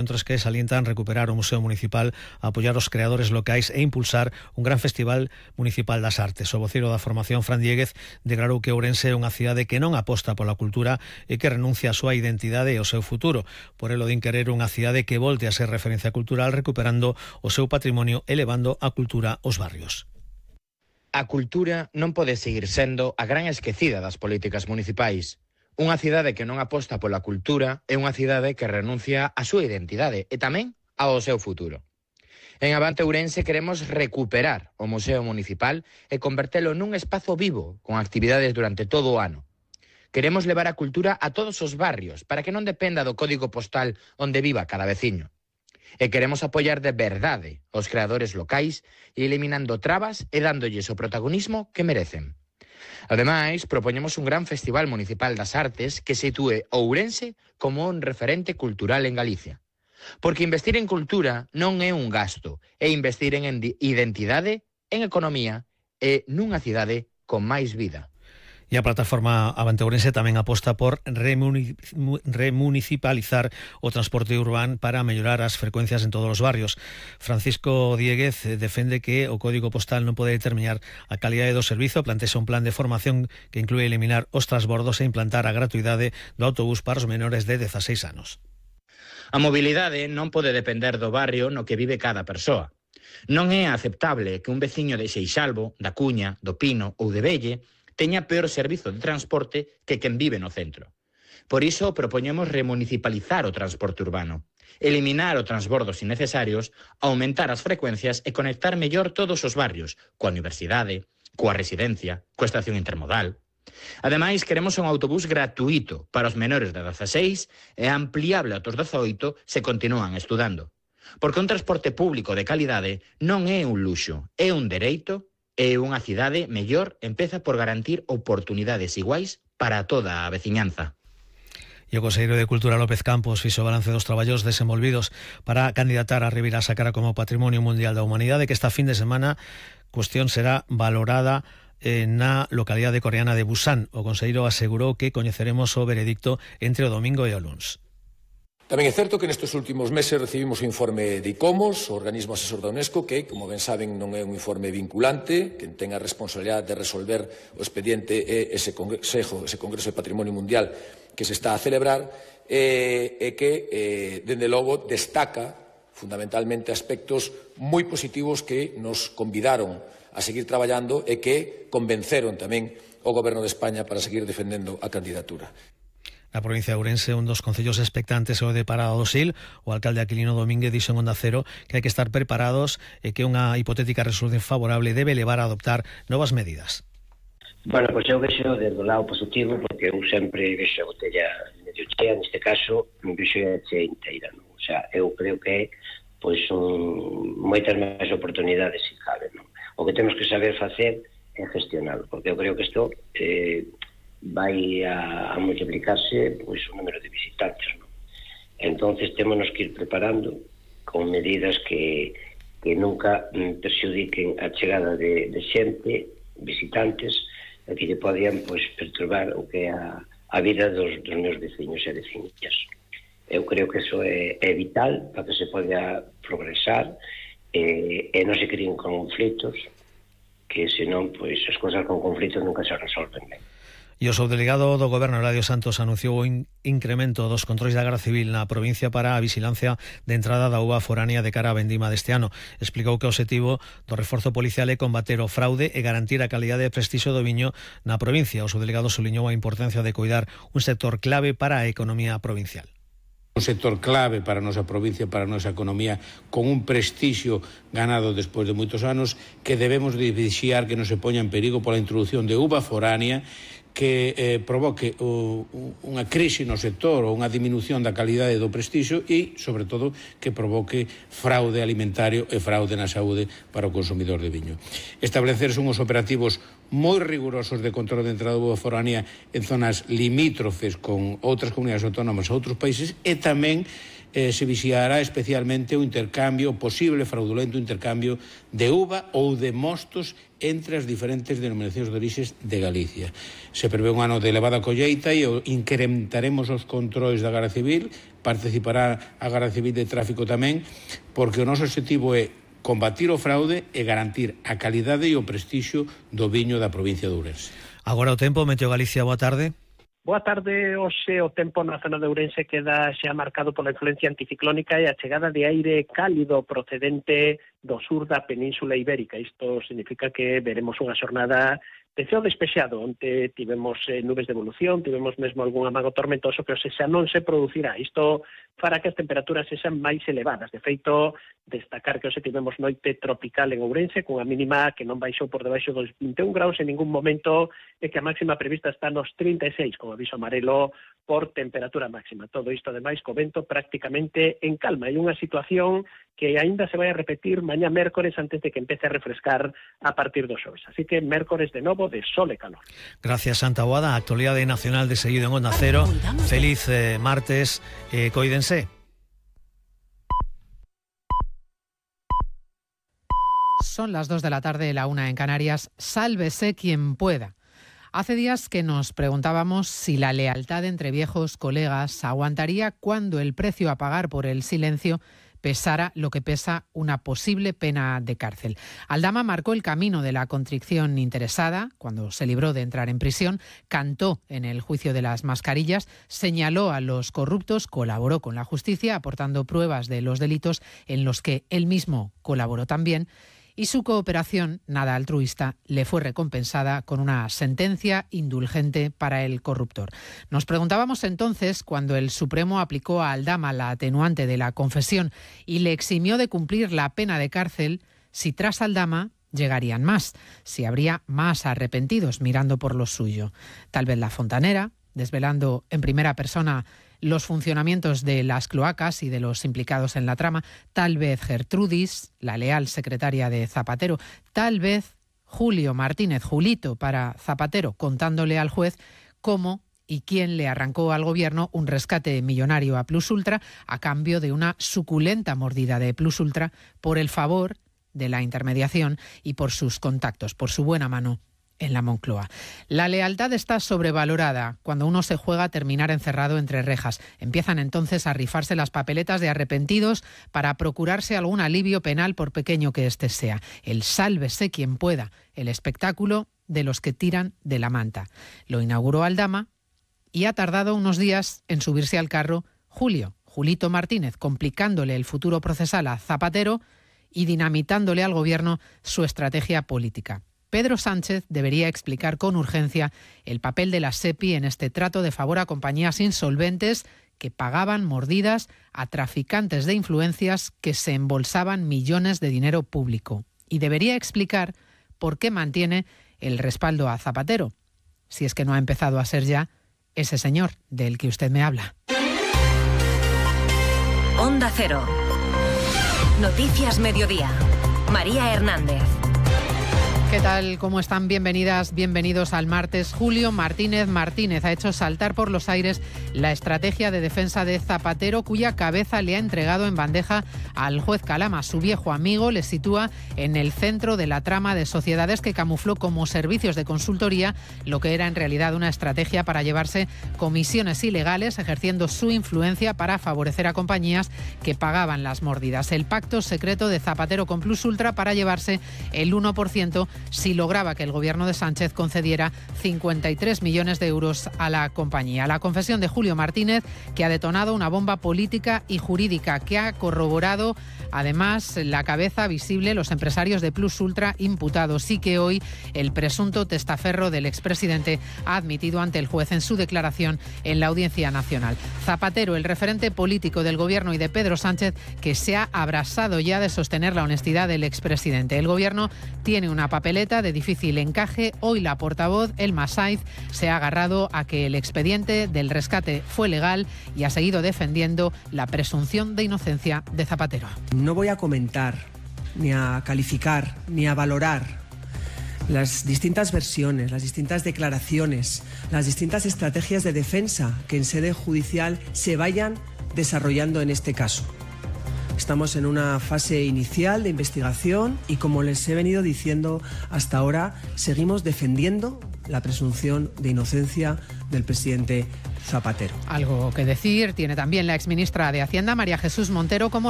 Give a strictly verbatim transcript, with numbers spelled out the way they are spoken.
Centros que salientan recuperar o Museo Municipal, apoiar os creadores locais e impulsar un gran festival municipal das artes. O voceiro da formación, Fran Diéguez, declarou que Ourense é unha cidade que non aposta pola cultura e que renuncia a súa identidade e ao seu futuro. Por elo din querer unha cidade que volte a ser referencia cultural, recuperando o seu patrimonio e levando a cultura aos barrios. A cultura non pode seguir sendo a gran esquecida das políticas municipais. Unha cidade que non aposta pola cultura é unha cidade que renuncia á súa identidade e tamén ao seu futuro. En Avante Ourense queremos recuperar o Museo Municipal e convertelo nun espazo vivo con actividades durante todo o ano. Queremos levar a cultura a todos os barrios para que non dependa do código postal onde viva cada veciño. E queremos apoiar de verdade os creadores locais e eliminando trabas e dándolles o protagonismo que merecen. Ademais, propoñemos un gran festival municipal das artes que sitúe Ourense como un referente cultural en Galicia. Porque investir en cultura non é un gasto, é investir en identidade, en economía e nunha cidade con máis vida. E a plataforma Avante Ourense tamén aposta por remunicipalizar o transporte urbano para mellorar as frecuencias en todos os barrios. Francisco Diéguez defende que o código postal non pode determinar a calidade do servizo, plantexa un plan de formación que inclúe eliminar os transbordos e implantar a gratuidade do autobús para os menores de dezaseis anos. A mobilidade non pode depender do barrio no que vive cada persoa. Non é aceptable que un veciño de Seixalbo, da Cuña, do Pino ou de Velle teña peor servizo de transporte que quen vive no centro. Por iso propoñemos remunicipalizar o transporte urbano, eliminar os transbordos innecesarios, aumentar as frecuencias e conectar mellor todos os barrios, coa universidade, coa residencia, coa estación intermodal. Ademais, queremos un autobús gratuito para os menores de dezaseis e ampliable a os dezaoito se continúan estudando. Porque un transporte público de calidade non é un luxo, é un dereito. E unha cidade mellor empeza por garantir oportunidades iguais para toda a veciñanza. E o conselleiro de Cultura López Campos fixo balance dos traballos desenvolvidos para candidatar a Ribeira Sacra como Patrimonio Mundial da Humanidade, que esta fin de semana cuestión será valorada na localidade coreana de Busan. O conselleiro asegurou que coñeceremos o veredicto entre o domingo e o luns. Tamén é certo que nestes últimos meses recibimos o informe de ICOMOS, o organismo asesor da UNESCO, que, como ben saben, non é un informe vinculante, que ten a responsabilidade de resolver o expediente e ese Consejo, ese Congreso de Patrimonio Mundial que se está a celebrar, e, e que, eh, dende logo, destaca fundamentalmente aspectos moi positivos que nos convidaron a seguir traballando e que convenceron tamén o Goberno de España para seguir defendendo a candidatura. Na provincia de Ourense, un dos concellos expectantes é o de Parada do Sil. O alcalde Aquilino Domínguez dixo en Onda Cero que hai que estar preparados e que unha hipotética resolución favorable debe levar a adoptar novas medidas. Bueno, pois eu vexo desde o lado positivo, porque eu sempre vexo a botella medio chea, neste caso, vexo a chea inteira, non? O sea, eu creo que é pois un, moitas máis oportunidades se cabe, non? O que temos que saber facer é gestionar, porque eu creo que isto eh, vai a, a multiplicarse pois o número de visitantes, non? Entonces témonos que ir preparando con medidas que, que nunca perxudiquen a chegada de, de xente, visitantes, e que lle podían pois perturbar o que é a, a vida dos, dos meus veciños e veciñas. Eu creo que eso é, é vital para que se poda progresar e, e non se creen conflitos, que senón pois as cousas con conflitos nunca se resolven ben. E o subdelegado do Goberno, Eladio Santos, anunciou o in incremento dos controis da Garda Civil na provincia para a vigilancia de entrada da uva foránea de cara á vendima deste ano. Explicou que o obxectivo do reforzo policial é combater o fraude e garantir a calidade e prestixio do viño na provincia. O subdelegado subliñou a importancia de coidar un sector clave para a economía provincial. Un sector clave para a nosa provincia, para a nosa economía, con un prestixio ganado despois de moitos anos, que debemos de vixiar que non se poña en perigo pola introducción de uva foránea que eh, provoque o, unha crise no sector ou unha diminución da calidade do prestixio e, sobre todo, que provoque fraude alimentario e fraude na saúde para o consumidor de viño. Establecerse uns operativos moi rigurosos de control de entrada de uva foránea en zonas limítrofes con outras comunidades autónomas a outros países e tamén eh, se vixiará especialmente o intercambio, o posible fraudulento intercambio de uva ou de mostos entre as diferentes denominacións de orixes de Galicia. Se prevé un ano de elevada colleita e incrementaremos os controis da Garda Civil, participará a Garda Civil de Tráfico tamén, porque o noso objetivo é combatir o fraude e garantir a calidade e o prestixio do viño da provincia de Ourense. Agora o tempo, Meteo Galicia, boa tarde. Boa tarde, hoxe o tempo na zona de Ourense queda xa marcado pola influencia anticiclónica e a chegada de aire cálido procedente do sur da Península Ibérica. Isto significa que veremos unha xornada de ceo despexado, onde tivemos eh, nubes de evolución, tivemos mesmo algún amago tormentoso que hoxe xa non se producirá. Isto fará que as temperaturas sexan máis elevadas. De feito, destacar que hoxe tivemos noite tropical en Ourense, cunha mínima que non baixou por debaixo dos vinte e un graus en ningún momento, e que a máxima prevista está nos trinta e seis, con aviso amarelo por temperatura máxima. Todo isto, ademais, co vento prácticamente en calma. Hai unha situación que aínda se vai a repetir mañá mércores antes de que empece a refrescar a partir do xoves. Así que mércores de novo de sol e calor. Gracias, Santa Boada. Actualidade nacional de seguido en Onda Cero. Feliz eh, martes. Eh, coídense. Son las dos de la tarde, la una en Canarias. Sálvese quien pueda. Hace días que nos preguntábamos si la lealtad entre viejos colegas aguantaría cuando el precio a pagar por el silencio pesara lo que pesa una posible pena de cárcel. Aldama marcó el camino de la contrición interesada cuando se libró de entrar en prisión, cantó en el juicio de las mascarillas, señaló a los corruptos, colaboró con la justicia aportando pruebas de los delitos en los que él mismo colaboró también, y su cooperación, nada altruista, le fue recompensada con una sentencia indulgente para el corruptor. Nos preguntábamos entonces, cuando el Supremo aplicó a Aldama la atenuante de la confesión y le eximió de cumplir la pena de cárcel, si tras Aldama llegarían más, si habría más arrepentidos mirando por lo suyo. Tal vez la Fontanera, desvelando en primera persona los funcionamientos de las cloacas y de los implicados en la trama, tal vez Gertrudis, la leal secretaria de Zapatero, tal vez Julio Martínez, Julito para Zapatero, contándole al juez cómo y quién le arrancó al gobierno un rescate millonario a Plus Ultra a cambio de una suculenta mordida de Plus Ultra por el favor de la intermediación y por sus contactos, por su buena mano en la Moncloa. La lealtad está sobrevalorada cuando uno se juega a terminar encerrado entre rejas. Empiezan entonces a rifarse las papeletas de arrepentidos para procurarse algún alivio penal por pequeño que éste sea. El sálvese quien pueda, el espectáculo de los que tiran de la manta. Lo inauguró Aldama y ha tardado unos días en subirse al carro Julio, Julito Martínez, complicándole el futuro procesal a Zapatero y dinamitándole al gobierno su estrategia política. Pedro Sánchez debería explicar con urgencia el papel de la SEPI en este trato de favor a compañías insolventes que pagaban mordidas a traficantes de influencias que se embolsaban millones de dinero público. Y debería explicar por qué mantiene el respaldo a Zapatero, si es que no ha empezado a ser ya ese señor del que usted me habla. Onda Cero. Noticias Mediodía. María Hernández. ¿Qué tal? ¿Cómo están? Bienvenidas, bienvenidos al martes. Julio Martínez Martínez ha hecho saltar por los aires la estrategia de defensa de Zapatero, cuya cabeza le ha entregado en bandeja al juez Calama. Su viejo amigo le sitúa en el centro de la trama de sociedades que camufló como servicios de consultoría lo que era en realidad una estrategia para llevarse comisiones ilegales, ejerciendo su influencia para favorecer a compañías que pagaban las mordidas. El pacto secreto de Zapatero con Plus Ultra para llevarse el uno por ciento si lograba que el gobierno de Sánchez concediera cincuenta y tres millones de euros a la compañía. La confesión de Julio Martínez, que ha detonado una bomba política y jurídica, que ha corroborado además la cabeza visible los empresarios de Plus Ultra imputados, y que hoy el presunto testaferro del expresidente ha admitido ante el juez en su declaración en la Audiencia Nacional. Zapatero, el referente político del gobierno y de Pedro Sánchez, que se ha abrasado ya de sostener la honestidad del expresidente. El gobierno tiene una papeleta de difícil encaje. Hoy la portavoz, Elma Saiz, se ha agarrado a que el expediente del rescate fue legal y ha seguido defendiendo la presunción de inocencia de Zapatero. No voy a comentar, ni a calificar, ni a valorar las distintas versiones, las distintas declaraciones, las distintas estrategias de defensa que en sede judicial se vayan desarrollando en este caso. Estamos en una fase inicial de investigación y, como les he venido diciendo hasta ahora, seguimos defendiendo la presunción de inocencia del presidente Zapatero. Algo que decir tiene también la exministra de Hacienda, María Jesús Montero, como